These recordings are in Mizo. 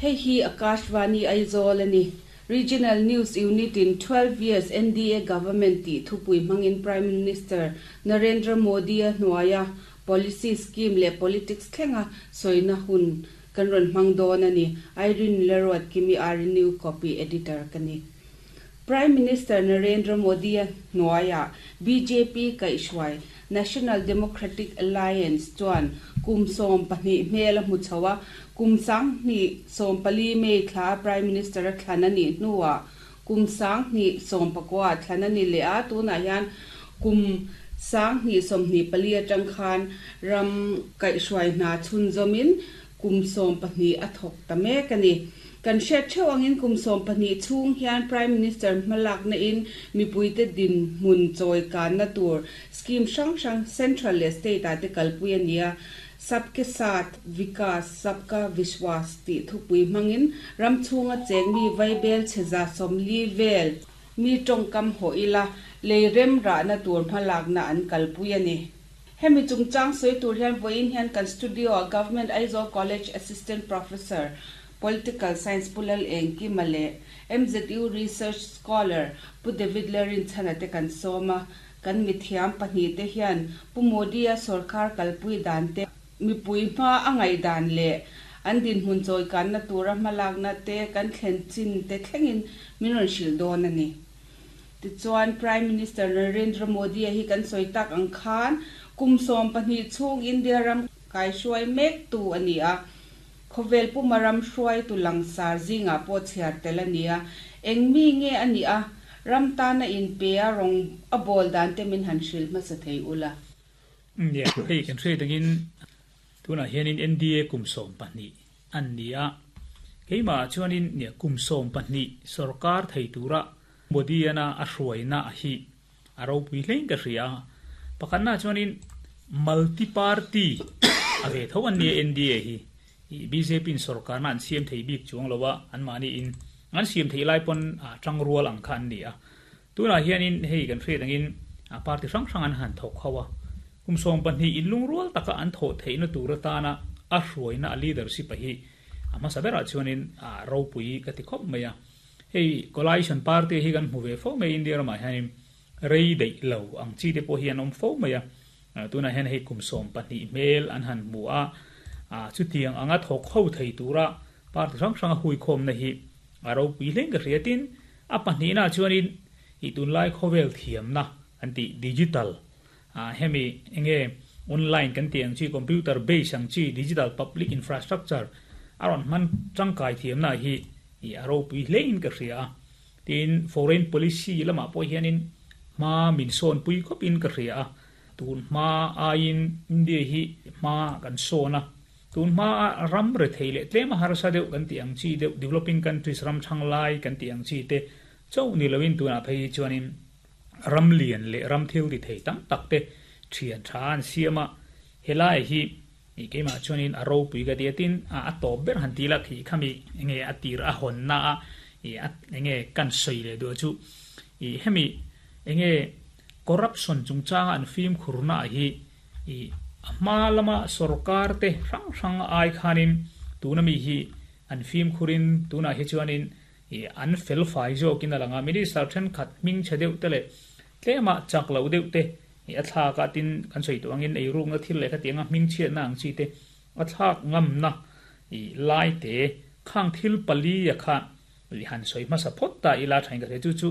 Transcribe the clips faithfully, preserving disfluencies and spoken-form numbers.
Hei hi Akashvani Aizawl ani. Regional News Unit in twelve years N D A government tih thupui hmangin Prime Minister Narendra Modi a hnuaia policy, scheme leh politics thlenga sawina hun kan rawn hmang dawn ani. Irene Lerot Kimi R New Copy Editor ka ni. Prime Minister Narendra Modi a hnuaia B J P kaihhruai National Democratic Alliance chuan kum sawm pahnih hmel a hmu chho a. Kum sang hnih sawm pali May thla Prime Minister a thlan ani hnuah kum sang hnih sawm pakua thlan ani leh a. Tunah hian kum sang hnih sawm hnih pali atang khan ram kaihhruai hna chhun zawmin kum sawm pahnih a thawk ta mek ani. Kan hriat theuh angin kum sawm pahnih chhung hian Prime Minister hmalak na in mipuite din hmun chawi kan na tur scheme hrang hrang central leh state ah te kalpui ani a. Sabke Saath Vikas Sabka Vishwas tih thupui hmangin ram chhunga cheng mi vaibel chheza sawmli vel mi tawngkam haw ila lei rem rah na tur hmalak na an kalpui ani. Hemi chungchang sawi tur hian vawiin hian kan studio a Government Aizawl College Assistant Professor, Political Science, Pu Lal Engkima leh M Z U Research Scholar Pu David Lerin chhana te kan sawm a. Kan mithiam pahnih te hian Pu Modi a sarkar kalpui dan te, mipui hma a ngaih dan leh an din hmun chawi kan na tura hmalak na te, kan thlen chin te thlengin min rawn hrilh dawn ani. Tichuan Prime Minister Narendra Modi a hi kan sawi tak ang khan kum sawm pahnih chhung India ram kaihhruai mek tu ani a. Khawvel pumaram hruai tu langsar zinga pawh chhiar tel ani a. Eng mi nge ani a, ram tana in pe a rawng a bawl dan te min han hrilh hmasa thei ula. Ne hei kan hre tangin tuna hianin N D A kum sawm pahnih an ni a. Keima chuanin ne kum sawm pahnih sarkar thei tura Modi ana a hruaina a hi a ropui hlein ka hria. Pakhatna chuanin multi party a ve tho an ni N D A hi. I B J P in sarkar na an siam thei bik chuang lowa, an mani in an siam thei lai pon a tang rual ang kha an ni a. Tuna hianin hei kan hre tangin a party hrang hrang an han thok khawa kum sawm pahnih in lungrual taka an tho theihna tur atana a hruaina a leadership a hi a hmasa berah chuanin a ropui ka ti khawp mai a. Hei coalition party hi kan hmu ve fo mai India ramah hianin rei deih lo ang chi te pawh hi an awm fo mai a. Tunah hian hei kum sawm pahnih hmel an han hmu a. A chutiang anga thawk ho thei tura party hrang hrang a hui khawm na hi a ropui hlein ka hria. Tin, a pahnihna chuanin i tunlai khawvel thiamna an ti digital a, hemi enge online kan ti ang chi, computer base ang chi, digital public infrastructure aron man tangkai thiamna hi i a ropui hlein ka hria. Tin, foreign policy lama pawh hianin ma min sawn pui khawpin ka hria. Tun hma aiin India hi hma kan sawna. Tun hma ram re thei leh tlema harsa deuh kan ti ang chi deuh, developing countries, ram thang lai kan ti ang chi te chau ni loin tuna phei chuanin ram lian leh ram thil ti thei tam tak te thian tha an siama. Helai hi i keima chuanin a ropui ka tia. Tin, a a top ber han ti la khi khami enge a tir a hon na a i a enge kan soi le do chu i hemi enge corruption chungchanga an fim khurna hi i hma lama sarkar te hrang hrang ai khanin tuna mi hi an fim khurin tuna hi chuanin i an fel fai zawkin alanga. Minister then khat ming che deuh te le tlema chak lo deuh te i a thla ka tin kan soi tu angin ei rung na thil le kha tianga ming chiat na ang chi te a thlak ngam na i lai te khang thil pali ya kha i han soi ma sa phot ta ila thain ka chu chu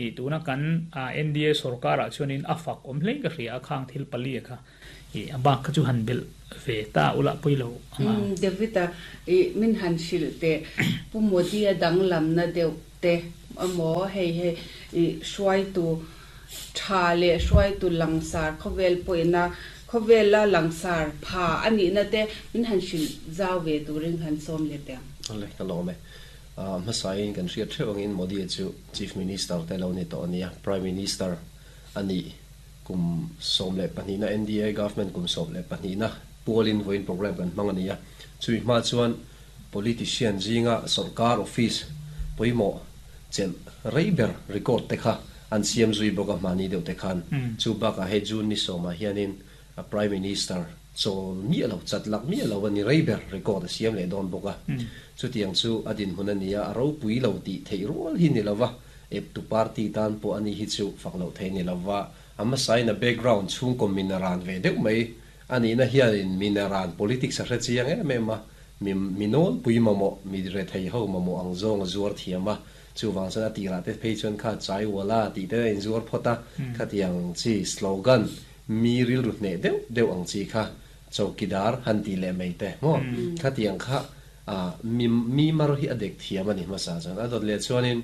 i tuna kan a N D A sarkar a chuanin a fak om hlei ka hria. Khang thil pali kha i abak kha chu han bel ve ta ula poilo anga. um Davida, i min han hrilh te Pu Modi a danglam na deuh te amo hei hei i hruai tu tha le hruai tu langsar khawvel poina khawvel la langsar pha ani na te min han hrilh zau ve turin han som le te. Ale ka lo me a hmasain kan hriat theuh angin Modi chu Chief Minister te lo ni to ania. Prime Minister ani kum sawm leh pahnih na, N D A government kum sawm leh pahnih na pualin voin program kan hmang ania. Chui hma chuan politician zinga sarkar office poimo chel reiber record te kha an siam zui boka mani deuh te khan. Chu baka he June ni sawma hianin a Prime Minister Chol mi lo chat lak mi lo ani reiber record siam le don boka chu tiang chu adin hun ania ro pui lo ti thei rol hi ni lova ep tu party tan po ani hi chu fak lo thei ni lova ama sai na background chung kom minaran ve deuh mai ani na hian minaran politics a hre chiang em em a mi minol pui ma mo mi re thei ho ma mo ang zong zuar thiama chu wang san ati ra te phei chuan kha chai wala ti te in zuar phota kha tiang chi slogan mi ril ru ne deuh deuh ang chi kha chowkidar han ti le mai te mo kha tiang kha a mi mi mar hi adek thiam ani ma sa chan adot le chuanin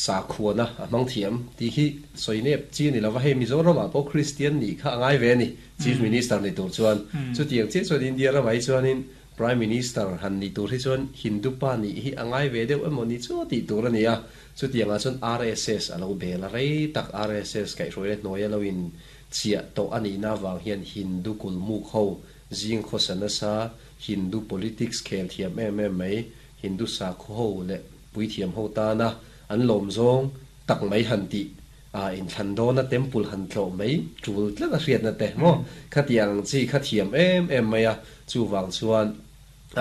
sa khuana amang thiam ti hi soinep chi ni lova he Mizoram a po Christian ni kha angai ve ni Chief Minister ni tur chuan chu tiang che chuan India ra mai chuanin Prime Minister han ni tur hi chuan Hindu pa ni hi angai ve deuh emaw ni chu ti tur ani a chu tiang a chuan R S S alo bela rei tak R S S kai hroi le hnuai alo in chia to ani na wang hian Hindu kulmu kho jing khosana sa Hindu politics khel thiam em em mai Hindu sa kho ho le pui thiam ho ta na an lom zong tak mai han ti a in thando na temple han tlo mai chul tla na hriat na te mo khatiang chi kha thiam em em mai a chu wang chuan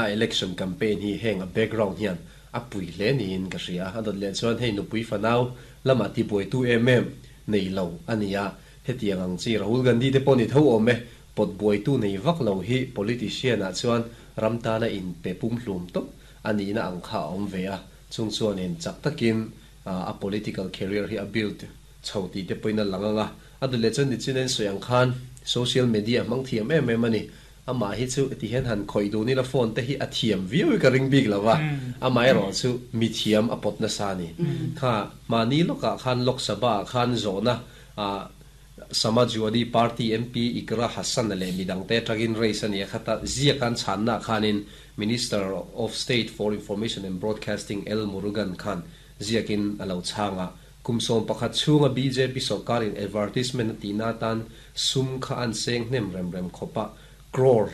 a election campaign hi heng a background hian a pui le ni in ka hria a dot le chuan hei nu pui fanau lama ti boi tu em em nei lo ania hetiang ang chi Rahul Gandhi te pawh ni tho awm e pot buai tu nei vak lo hi politician ah chuan ramtana in pe pum hlum top ani na ang kha awm ve a chung chuan in chak takin a political career hi a build chho ti te poina langanga adule chuan ni chinen soyang khan social media mang thiam em em ani ama hi chu ti hen han khoi du ni la phone te hi a thiam viu ka ring big lawa amai ro chu mi thiam a pot na sa ni kha mani loka khan Lok Sabha khan zona a Samajwadi Party M P Ikra Hassan le midang te tagin race ani khata zia kan channa khanin Minister of State for Information and Broadcasting L Murugan Khan ziakin alo changa kumsom pakhat chunga B J P sarkarin advertisement tina tan sum kha an seng hnem rem rem khopa crore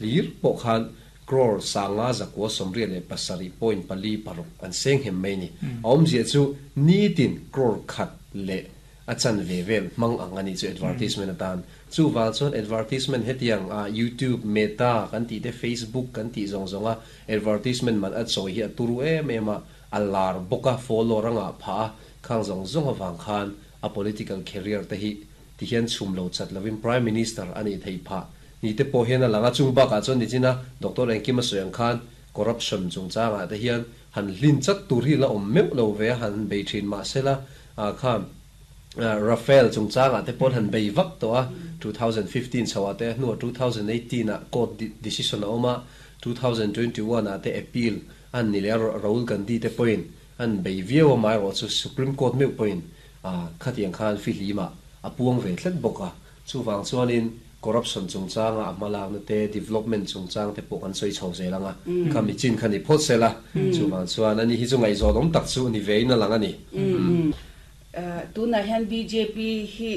lir po khan crore sanga zakwa somri le pasari point pali paruk an seng hem mai ni awm zia chu ni tin crore khat le achan ve vel mang ang ani chu advertisement atan chu wal chuan advertisement hetiang a YouTube Meta kan ti te Facebook kan ti zong zonga advertisement man a choi hi a turu em em a alar boka follow ranga pha khang zong zong awang khan a political career te hi ti hian chum lo chat lovin Prime Minister ani thei pha ni te po hian alanga chung ba ka chuan ni china Doctor Engkima soyang khan corruption chung changa te hian han hlin chat tur hi la om meu lo ve han bei thin ma sela a khan Rafael chung changa te pon han bei vak to a twenty fifteen chawa te nu twenty eighteen a court decision oma twenty twenty-one a te appeal an ni le Rahul Gandhi te point an bei viau mai ro chu Supreme Court meu point a khatiang khan fi lima apuang ve thlet boka chu wang chuanin corruption chung changa amalak na te development chung chang te pawh an soi chho zelanga khami chin khani phot sela chu wang chuan ani hi chu ngai zo dom tak chu ni veina lang ani tu na hian B J P hi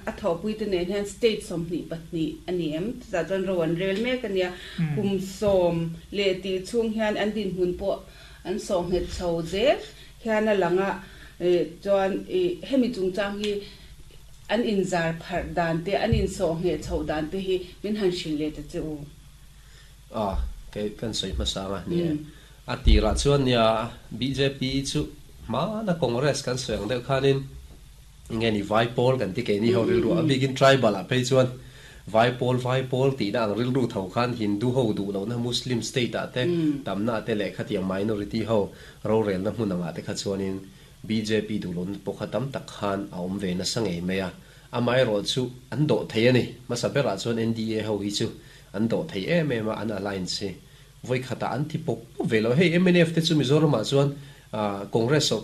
a tho pui te nen hian state som ni patni ani em za chuan ro an rel mek ania kum som le ti chung hian an din hun po an so nget chho zel hian a langa chuan hemi chung chang hi an in zar phar dan te an in so nge chho dan te hi min han shil le te chu a ke kan soi ma sa ma ni a ti ra chuan nia B J P chu ma na Congress kan soyang deuh khanin nge ni vai pol kan ti ke ni ho ril ru a bigin tribal a phei chuan vai pol vai pol ti na ang ril ru tho khan Hindu ho du lo na Muslim state a te tamna te le khatiang minority ho ro rel na hmun anga te kha chuanin B J P du lon pokha tam tak khan a awm ve na sangei mai a amai ro chu an do thei ani ma sabera chuan N D A ho hi chu an do thei em em a an alliance voi khata an thi pok ve lo hei M N F te chu Mizoram ah chuan Congress so